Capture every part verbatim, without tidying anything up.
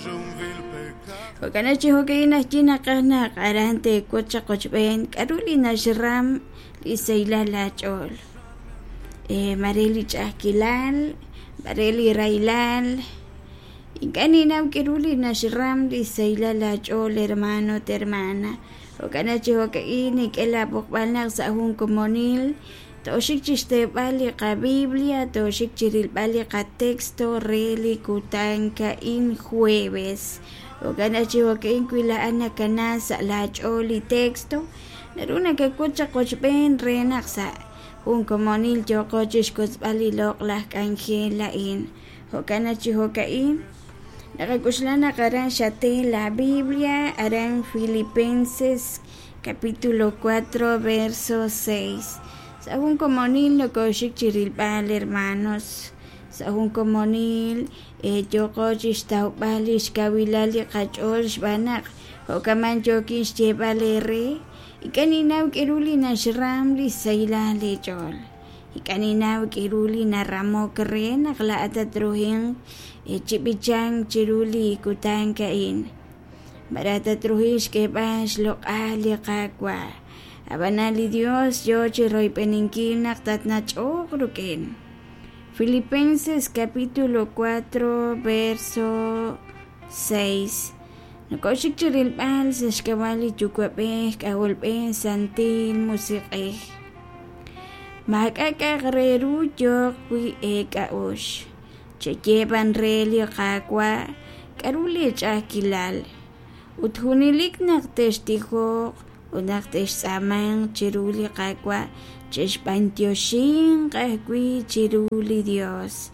cuja un vil pecado. Jo'kan chi jo'ka'in naxye naqaj naq aran teewotz chaq qochb'een k'a'ru li naxram li sahilal aach'ool eh, mare li ch'a'ajkilal, mare li rahilal. Ink'a' ninnaw k'a'ru li naxram li sahilal aach'ool hermano ut hermana. Jo'kan chi jo'ka'in nink'e laab'oqb'al naq sa' jun komonil tooxik chixteeb'al li qabiblia, tooxik chirilb'al li qatexto re li kutan ka'in jueves. Jo'kan chi jo'ka'in wi laa'at nakana sa' laach'ool li texto, naru nakawotz chaq qochb'een re naq sa' jun komonil yooqo chixkotzb'al li loq'laj k'anjel a'in. Jo'kan chi jo'ka'in naqak'oxla naq aran xate la Biblia, aran Filipenses capítulo cuatro verso seis. Sa' jun komonil nokoxik chirilb'al hermanos, sa' jun komonil eh, yooqo chixtawb'al li xkawilal li qach'ool xb'aan naq jo'kaman yookin xyeeb'al eere ink'a' ninnaw k'a'ru li naxram li sahilal eech'ool. Ink'a' ninnaw k'a'ru li naramok re naq laa'at tatruhinq chi b'ichank chiru li kutan a'in. Mara tatruhinq xk'eeb'al xloq'al li Qaawa'. Ab'anan li Dios yoo chiroyb'eninkil naq tatnach'oq rik'in. Filipenses capítulo cuatro verso seis. Nokoxik chirilb'al sa' xk'ab'a' li Yuwa'b'ej K'ajolb'ej Santil Musiq'ej. Maak'a' k'a'aq re ru yooq wi' eek'a'uxl. Cheyeeb'an re li Qaawa' k'a'ru li ch'a'ajkilal. Ut junelik naq textijoq ut naq textz'aamanq chiru li Qaawa' chexb'antioxinq ajwi' chiru li Dios.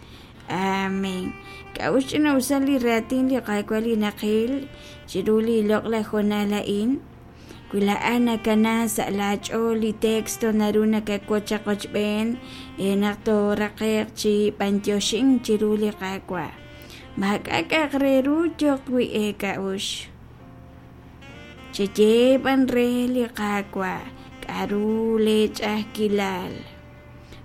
Amén. K'a'ux ch'ina'usal li raatin li Qaawa' li naqil chiru li loq'laj hoonal a'in. Wi laa'at nakana sa' laach'ool li texto naru nakawotz chaq qochb'een eh, naq tooraqe'q chi b'antioxink chiru li Qaawa'. Maak'a' k'a'aq re ru yooq wi' eek'a'uxl. Cheyeeb'an re li Qaawa' k'a'ru lee ch'a'ajkilal.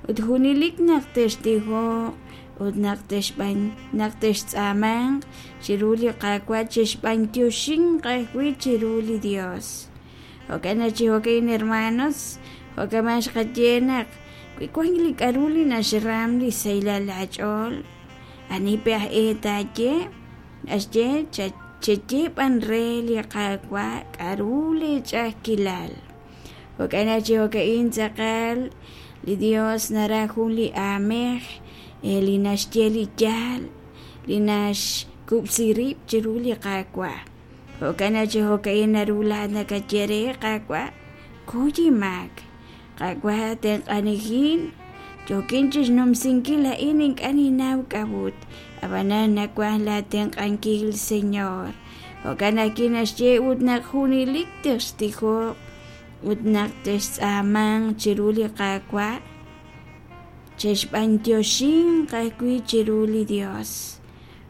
Ut junelik naq textijoq ut naq texb'an naq textz'aamanq chiru li Qaawa' chexb'antioxinq ajwi' chiru li Dios. Jo'kan chi jo'ka'in hermanos, jo'kaman xqaye naq wi wank li k'a'ru li naxram li sahilal aach'ool, ani pe aj e taaye, naxye cheyeeb'an re li Qaawa' k'a'ru li ch'a'ajkilal. Jo'kan chi jo'ka'in tz'aqal li Dios naraj jun li aamej eh, li naxye li yaal, li naxkub'si rib' chiru li Qaawa'. Jo'kan chi jo'ka'in naru laa'at nakaye re Qaawa' kuy inmaak. Qaawa' tenq'anijin yookin chixnumsinkil a'in ink'a' ninnaw k'a'ut. Ab'anan nawaj laatenq'ankil Señor. Jo'kan ajwi' naxye ut naq junelik textijoq ut naq textz'aamanq chiru li Qaawa' chexb'antioxinq ajwi' chiru li Dios.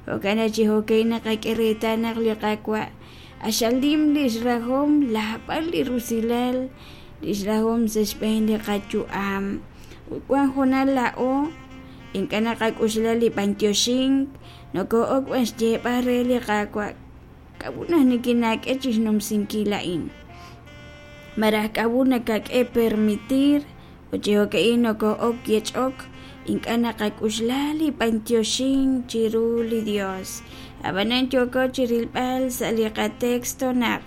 Jo'kan chi jo'ka'in naqak'e reetal naq li Qaawa' axalim li xrahom laab'al li rusilal li xrahom sa' xb'een li qayu'am. Ut wan hoonal laa'o ink'a' naqak'oxla li b'antioxink noko'ok b'an xyeeb'al re li Qaawa' k'a'ut naq nikinak'e chixnumsinkil a'in. Maraj k'a'ut nakak'e permitir ut chi jo'ka'in noko'ok yech'ok ink'a' naqak'oxla li b'antioxink chiru li Dios. Ab'anan yooko chirilb'al sa' li qatexto naq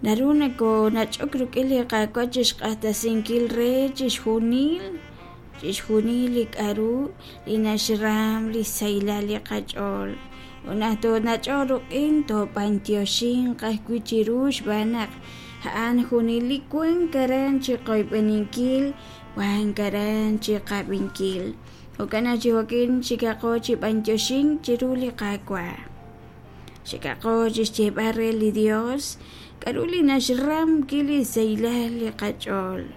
naru nakonach'ok rik'in li Qaawa' chixq'axtesinkil re chixjunil chixjunil li k'a'ru li naxram li sahilal li qach'ool. Ut naq toonach'oq rik'in toob'antioxinq ajwi' chiru xb'aan naq a'an junelik wank aran chiqoyb'eninkil, wank aran chiqab'inkil. Jo'kan chi jo'kin xikaqo chi b'antioxink chiru li Qaawa'. Xikaqo chixyeeb'al re li Dios k'a'ru li naxram ki li sahilal li qach'ool.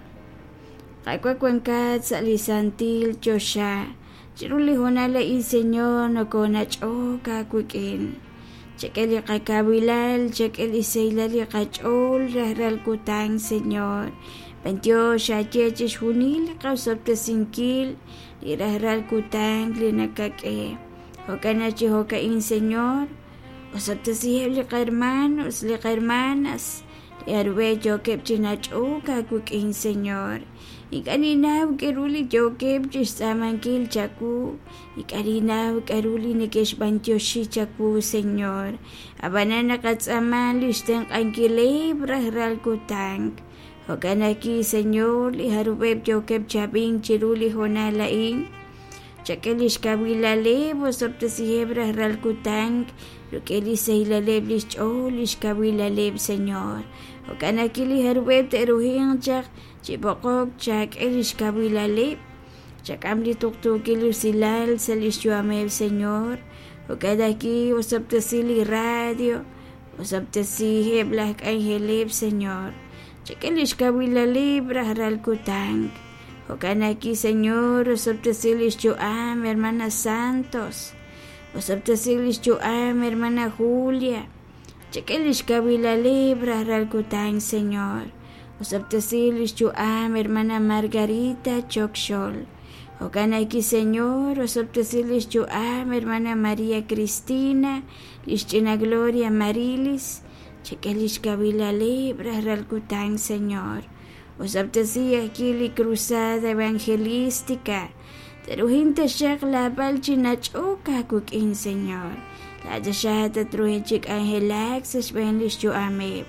Qaawa' wankat sa' li santil choxa chiru li hoonal a'in Señor nokonach'ok aawik'in. Chak'e li qakawilal, chak'e li sahilal li qach'ool rajlal kutan Señor. B'antiox aye chixjunil li qasob'tesinkil li rajlal kutan li nakak'e. Jo'kan naq chi jo'ka'in, Señor, osob'tesiheb' li qahermanos, li qahermanas, li jarub'eb' yookeb' chi nach'ok aawik'in, Señor. Ink'a' ninnaw k'a'ru li yookeb' chixtz'aamankil chawu, ink'a' ninnaw k'a'ru li neke'xb'antioxi chawu, Señor. Ab'anan naqatz'aama lix tenq'ankileb' rajlal kutan. Jo'kan ajwi', Señor, li jarub'eb' yookeb' chi ab'ink chiru li hoonal a'in, chak'e lix kawilaleb', osob'tesiheb' rajlal kutan rik'in li xsahilaleb' lix ch'ool, lix kawilaleb', Señor. Jo'kan ajwi' li jarub'eb' te'ruhinq chaq chi b'oqok, chak'e lix kawilaleb', chak'am li tuqtuukil usilal sa' lix yu'ameb', Señor. Jo'kan ajwi' osob'tesi li radio, osob'tesiheb' laj k'anjeleb', Señor. Chak'e lix kawilaleb' rajlal kutan. Jo'kan ajwi', Señor, osob'tesi lix yu'am hermana Santos, osob'tesi lix yu'am hermana Julia. Chak'e lix kawilaleb' rajlal kutan, Señor. Osob'tesi lix yu'am hermana Margarita Chokxol. Jo'kan ajwi', Señor, osob'tesi lix yu'am hermana María Cristina, lix ch'ina Gloria Marilis. Chak'e lix kawilaleb' rajlal kutan, Señor. Osob'tesi ajwi' li cruzada evangelística. Teruhin taxaq laab'al chi nach'ok aawik'in, Señor. Laataxaq tatruhin chi k'anjelak sa' xb'een lix yu'ameb'.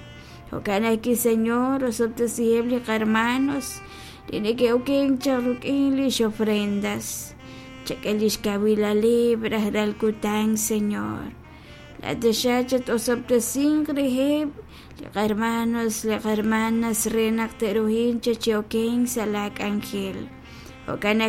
Jo'kan ajwi', Señor, osob'tesiheb' li qarmanos li neke'okenk chaq rik'in lix ofrendas. Chak'e lix kawilaleb' rajlal kutan, Señor. Laataxaq chat-osob'tesinq reheb' li qarmanos, li qarmanas re naq te'ruhin chi okenk sa' laa k'anjel. Jo'kan